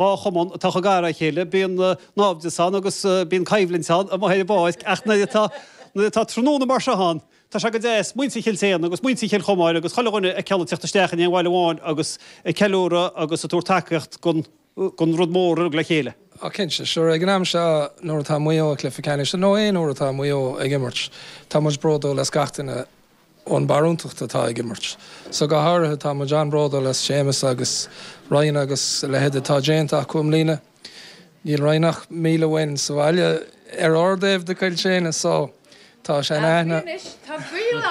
chumann atá chomh gar dá chéile, bíonn naimhdeas ann agus bíonn coimhlint ann amuigh ar an bpáirc ach nuair atá, nuair atá tráthnóna mar seo ann, tá sé go deas muintir Chill tSéadhna agus muintir Chill Chomáin agus chuile dhuine a fheiceáil ag teacht isteach in aon bhaile amháin agus ag ceiliúradh agus ag tabhairt tacaíocht don, don rud mór uilig le chéile. Á cinnte, sure, ag an am seo nuair atá Maigh Eo ag cluiche ceannais, nó aon uair atá Maigh Eo ag imirt, tá muid bródúil as gach duine ón barúntacht atá ag imirt. So go háirithe tá muid an-bhródúil as Séamus agus Ryan agus a leithéid atá déanta acu i mbliana. Níl Ryan ach 1,000 uainn sa bhaile ar ár dtaobh de Chill tSéadhna so tá sean-aithne. Anois tá gaol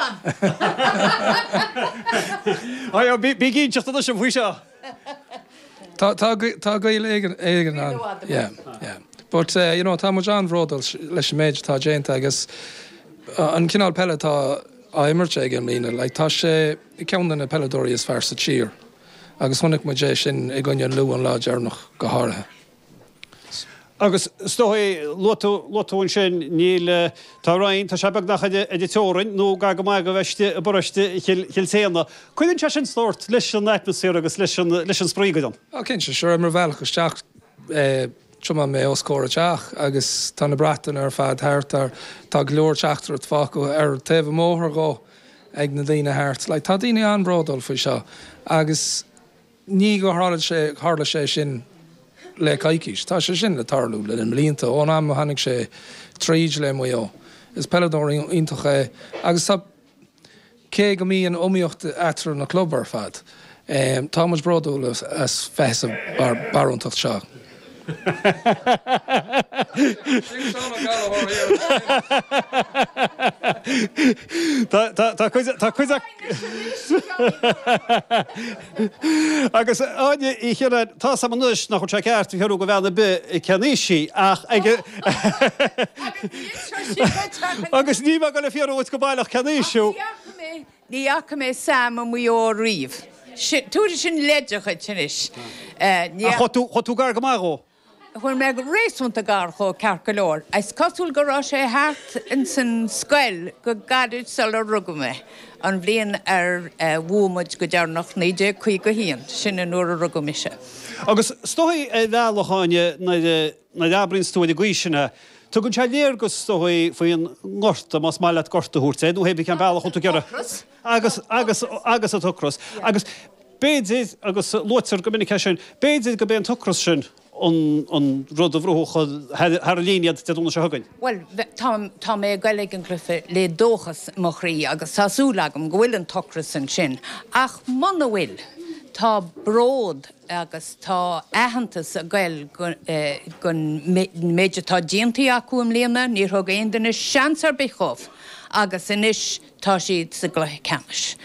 ann! Bí ag inseacht anois faoi seo! Tá tá gaol éigin ann. Yeah, yeah. But you know tá muid an-bhródúil leis an méid atá déanta agus an cineál peile atá á imirt aige i mbliana, like tá sé ceann de na peileadóirí is fearr sa tír agus chonaic muid é sin i gcoinne Lú an lá deireanach go háirithe. Agus is dóigh, luaigh tú, luaigh tú ansin, níl, tá Ryan, tá sé beagnach ar an teorainn nó gar go maith do bheith istigh i bparóiste Chill, Chill tSéadhna. Cuireann sé sin sórt leis an atmaisféar agus leis an, leis an spraoi go deimhin. Á cinnte, sure, ar mo bhealach isteach, tiomáin mé os comhair a teach agus tá na bratanna ar fad thart, tá, tá go leor teachtaireacht fágtha ar taobh an bhóthair dhó ag na daoine thart. Like, tá daoine an-bhródúil faoi seo agus. Ní gur tharla sé, tharla sé sin le coicís. Tá sé sin le tarlú le na blianta, ón am a tháinig sé tríd le Maigh Eo. Is peileadóir iontach é agus tá, cé go mbíonn iomaíocht eatarthu na club ar fad, tá muid bródúil as bheith sa barúntacht seo. Tá cuid tá cuid Agus Áine Uí Chiaráin, tá 'fhios a'm anois nach bhfuil sé ceart a fhiafraí de bhean ar bith cén aois í ach ag Agus níl mé ag dul a fhiafraí dhuit go baileach cén aois thú. Ní fhaca mé Sam i Maigh Eo riamh. Tabharfaidh sin leid dhuit anois. Ní. Ach chuaigh tú, chuaigh tú gar go maith dhó? Chuaigh mé réasúnta gar dhó, ceart go leor. Is cosúil go raibh sé thart ins an scoil go gairid sular rugadh mé, an bhliain ar bhuaigh muid go deireanach, 1951, sin an uair a rugadh mise. Agus is dóigh ar bhealach, Áine, nuair a, nuair a abraíonns tú ar an gcaoi sin é, tugann sé léargas, is dóigh, faoin ngorta, más maith leat gorta a thabhairt air, nó hé brí cén bealach a bhfuil tú ag iarraidh. Agus, agus, agus an t-ocras. Agus b'fhéidir, agus luaitear go minic é sin, b'fhéidir gurb é an t-ocras sin an, an rud a bhrúfadh thar, thar an líne iad Dé Domhnaigh seo chugainn. Bhuel, tá, tá mé ag goil ag an gcluiche le dóchas i mo chroí agus tá súil agam go bhfuil an t-ocras ansin. Ach muna bhfuil, tá bród agus tá aitheantas ag goil don méid atá déanta acu i mbliana, níor thug aon duine seans ar bith dhóibh agus anois tá siad sa gcluiche ceannais.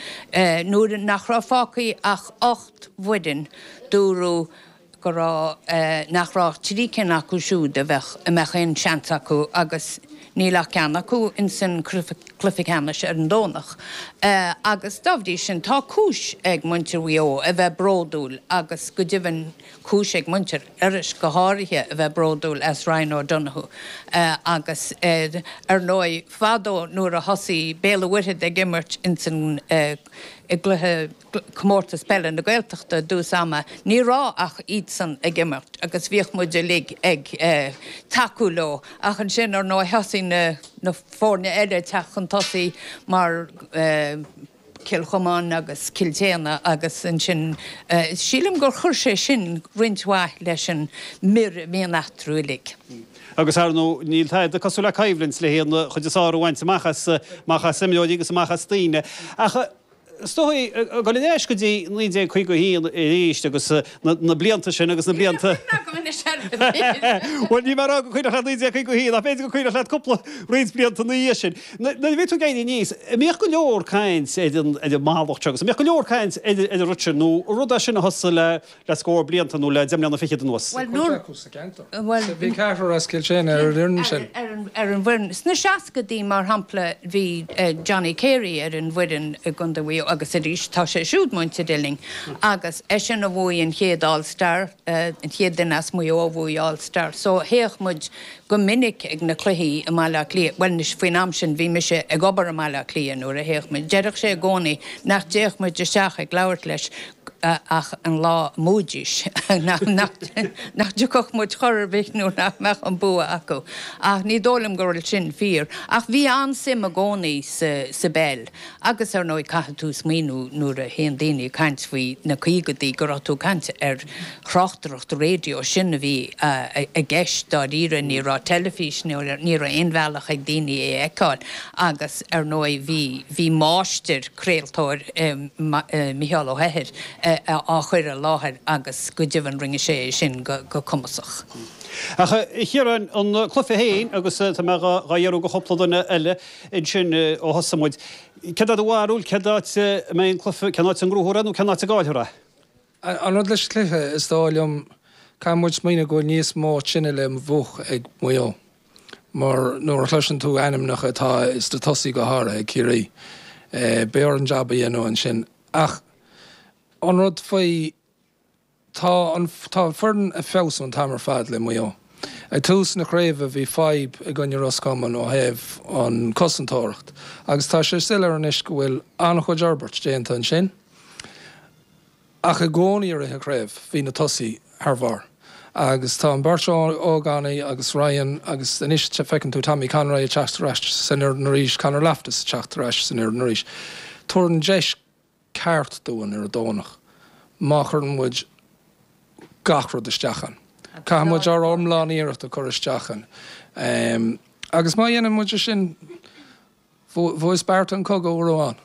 Nuair nach raibh fágtha ach 8 bhfoireann, dúradh go raibh, nach raibh ach 3 cinn acu siúd a bheadh, a mbeadh aon seans acu agus níl ach ceann acu ins an cluiche ceannais ar an Domhnach agus dá bhrí sin tá cúis ag muintir Mhaigh Eo a bheith bródúil agus go deimhin cúis ag muintir Iorrais go háirithe a bheith bródúil as Ryan O'Donoghue agus ar ndóigh fadó nuair a thosaigh Béal an Mhuirthead ag imirt ins an i gcluiche Comórtas Peile na Gaeltachta i dtús ama, ní raibh ach iadsan ag imirt agus bhíodh muid uilig ag tacú leo ach ansin ar ndóigh thosaigh na foirne eile ag teacht chun tosaigh mar Cill Chomáin agus Cill tSéadhna agus ansin sílim gur chuir sé sin roinnt mhaith leis an mhiir a bhíonn eatarthu uilig. Agus ar ndóigh níl tada cosúil le coimhlint le haghaidh an chuid is fearr a bhaint amach as amach as imreoirí agus amach as daoine. Ach Is dóigh, ag dul ar ais go dtí 1951 arís agus na blianta sin agus na blianta. Níl aon chuimhne agam anois ar an Bhuel, níl mé ag rá go cuimhneach leat 1951 ach b'fhéidir go cuimhneach leat cúpla roinnt blianta ina dhiaidh sin. Nuair a bhí tú ag éirí aníos, an mbíodh go leor caint ar an ar an mallacht seo agus an mbíodh go leor caint ar ar an rud sin nó rud é sin a thosaigh le le scór blianta nó le deich mbliana fichead anuas. Bhuel, nuair. Cuid acu sa gceantar. Bhuel. Bhí ceathrar as Cill tSéadhna ar an fhoireann sin. Ar an bhfoireann. Sna seascaidí, mar shampla, bhí Johnny Carey ar an bhfoireann i gContae Mhaigh Eo agus arís tá sé siúd muinteartha linn agus eisean a bhuaigh an chéad All Star, an chéad duine as Maigh Eo a bhuaigh All Star. So théadh muid go minic ag na cluichí i mBaile Átha Cliath, bhuel anois faoin am sin bhí mise ag obair i mBaile Átha Cliath nuair a théadh muid. Deireadh sé i gcónaí nach dtéadh muid isteach ag labhairt leis. Ach an lá a mbuafaidís, nach dtiocfadh muid chor ar bith nó nach mbeadh an bua acu. Ach ní dóigh liom go bhfuil sin fíor. Ach bhí an-suim i gcónaí sa bpeil. Agus ar ndóigh caithfidh tú smaoineamh nuair a théann daoine ag caint faoi na caogaidí go raibh tú ag caint ar thráchtaireacht raidió, sin a bhí i gceist dáiríre, ní raibh teilifís, ní raibh aon bhealach ag daoine é a fheiceáil. Agus ar ndóigh bhí, bhí máistir craoltóir, Micheál Ó hEithir, á chur i láthair agus go deimhin rinne sé é sin go cumasach. Ach a Chiaráin, an cluiche féin, agus tá mé dhá fhiafraí de chúpla duine eile ansin ó thosaigh muid, céard é do bharúil, cén áit a mbeidh an cluiche, cén áit a ngnóthófar é nó cén áit a gcaillfear é? An rud leis an chluiche, is dóigh liom, caithfidh muid smaoineamh go bhfuil níos mó tine le múch ag Maigh Eo. Mar nuair a chloiseann tú ainmneacha atá sna tosaí go háirithe ag Ciarraí, beidh orainn jab a dhéanamh ansin. Ach an rud faoi, tá an tá an foireann ag feabhsú an t-am ar fad le Maigh Eo. Ag tús na craoibhe bhí fadhb i gcoinne Ros Comáin ó thaobh an cosantóireacht agus tá sé soiléir anois go bhfuil an-chuid fhorbairt déanta ansin. Ach i gcónaí i rith an chraobh bhí na tosaí thar bharr agus tá an beirt ógánaigh agus Ryan agus anois feiceann tú Tommy Conroy ag teacht ar ais san fhoireann arís, Conor Loftus ag teacht ar ais san fhoireann arís. Tabharann deis ceart dúinn ar an Domhnach má chuireann muid gach rud isteach ann. Caithfidh muid ár iomlán iarracht a chur isteach ann agus má dhéanann muid é sin, Bhuas Beartla an cogadh uair amháin.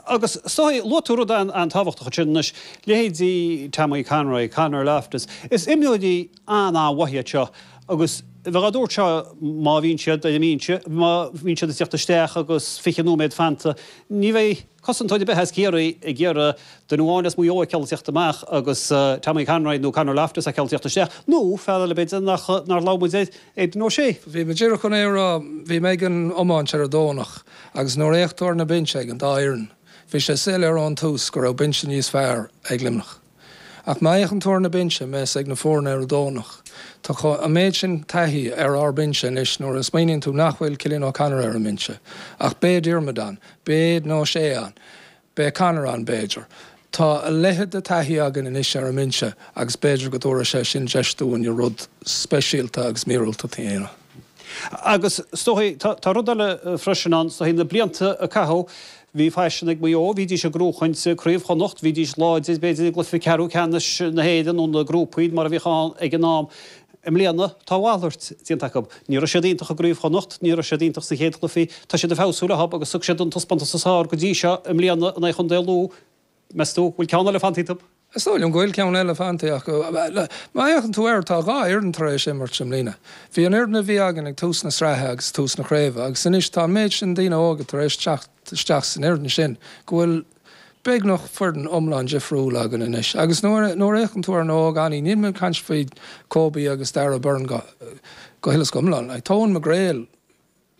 Agus is dóigh, luaigh tú rud an-tábhachtach ansin anois, leithéidí Tommy Conroy, Conor Loftus, is imreoirí an-an-mhaith iad seo agus bheadh á dtabhairt seo má bhíonn siad ar an mbinse, má bhíonn siad ag teacht isteach agus 20 nóiméad fanta, ní bheidh cosantóir ar bith as Ciarraí ag iarraidh duine amháin as Maigh Eo a fheiceáil ag teacht amach agus Tommy Conroy nó Conor Loftus a fheiceáil ag teacht isteach, nó fear eile b'fhéidir nach nár labhair muid air, Aidan O'Shea. Bhí mé díreach chun é a rá, bhí mé ag an iomáint ar an Domhnach agus nuair a fhéach tú ar na binse ag an dá fhoireann, bhí sé soiléir ón tús go raibh binse níos fearr ag Luimneach. Ach má fhéachann tú ar na binse a bheas ag na foirne ar an Domhnach, tá an méid sin taithí ar ár mbinse anois nuair a smaoiníonn tú nach bhfuil Cillian O'Connor ar an mbinse, ach beidh Diarmuid ann, beidh Aidan O'Shea ann, Beidh Conor ann, b'fhéidir. Tá a leithéid de taithí againn anois ar an mbinse agus b'fhéidir go dtabharfaidh sé sin deis dúinn rud speisialta agus míorúilteach a dhéanamh. Agus is dóigh, tá rud eile freisin ann, is dóigh, na blianta a caitheadh, bhí faisean ag Maigh Eo, bhídís ag gnóchaint Craobh Chonnacht, bhídís láidir, b'fhéidir, i gcluiche ceathrú ceannais na hÉireann nó na grúpaí mar a bhíodh ann ag an am. I mbliana, tá a mhalairt déanta acu. Ní raibh siad iontach i gCraobh Chonnacht, ní raibh siad iontach sna chéad chluichí. Tá siad ag feabhsú leo agus thug siad an taispeántas is fearr go dtí seo i mbliana in aghaidh Chontae Lú. Meas tú, bhfuil ceann eile fanta iontu? Is dóigh liom go bhfuil ceann eile fanta acu. Má fhéachann tú air, tá 2 fhoireann tar éis imirt i mbliana. Bhí an fhoireann a bhí againn ag tús na sraithe agus tús na craoibhe agus anois tá an méid sin daoine óga tar éis teacht isteach san fhoireann sin go bhfuil beagnach foireann iomlán difriúil againn anois. Agus nuair a fhéachann tú ar na hógánaigh, níl mé ag caint faoi Kobe agus Darragh Beirne go go huile is go hiomlán. Like, tá Eoin McGrail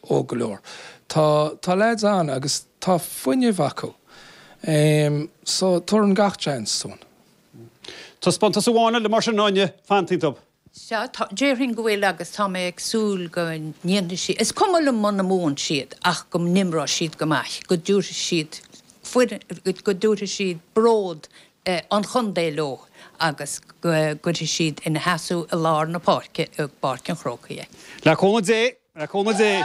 óg go leor. Tá tá leaids ann agus tá fuinneamh acu. So tabharann gach seans dúinn. Taispeántas amháin eile mar sin, Áine, fanta iontu. Sea, tá, déarfainn go bhfuil agus tá mé ag súil go ndéanfaidh siad, is cuma liom muna mbuann siad ach go n-imreoidh siad go maith, go dtabharfaidh siad foireann, go dtabharfaidh siad bród an chontae leo agus go gcuirfidh siad ina sheasamh i lár na páirce i bPáirc an Chrócaigh é. Le cúnamh Dé! Le cúnamh Dé!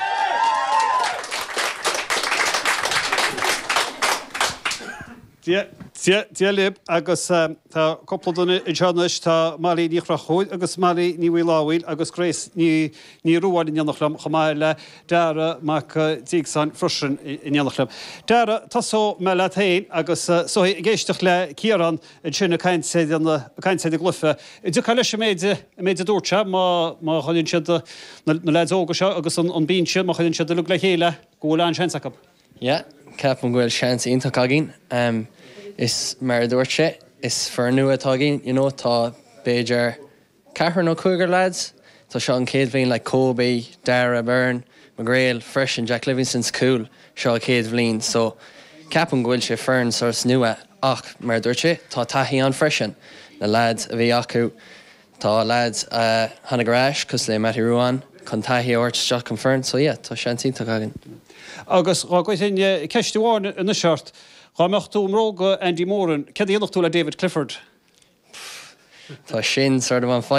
Dia, Dia, Dia libh agus tá cúpla duine anseo anois, tá Molly Ní Chonchúir agus Molly Ní Mhaolámhaoil agus Grace Ní, Ní Ruáin in éineacht liom chomh maith le Dara Mac Diagsáin freisin in éineacht liom. Dara, tosóidh mé leat féin agus is dóigh ag éisteacht le Ciarán ansin ag caint ar an, ag caint ar an gcluiche. An dtiocfá leis an méid, an méid a dúirt sé, má, má chuireann siad na, na leaids óga seo agus an, an binse, má chuireann siad uilig le chéile, go bhfuil an-seans acu? Yeah, ceapaim go bhfuil seans iontach againn. Is mar a dúirt sé, is foireann nua atá againn, you know, tá b'fhéidir ceathrar nó cúigear lads, tá seo an chéad bhliain like Kobe, Dara Byrne, McGrail freisin, Jack Livingston sa chúl, seo a chéad bhliain so ceapaim go bhfuil sé foireann sort nua ach mar a dúirt sé, tá taithí ann freisin, na lads a bhí acu. Tá lads a tháinig ar ais, cosúil le Mattie Ruane, chun taithí a thabhairt isteach chun foireann, so yeah, tá seans iontach againn. Agus dhá gcuirfinn ceist amháin anois ort. Dhá mbeadh tú i mbróga Andy Moran, céard a dhéanfadh tú le David Clifford? Tá sin sort of an.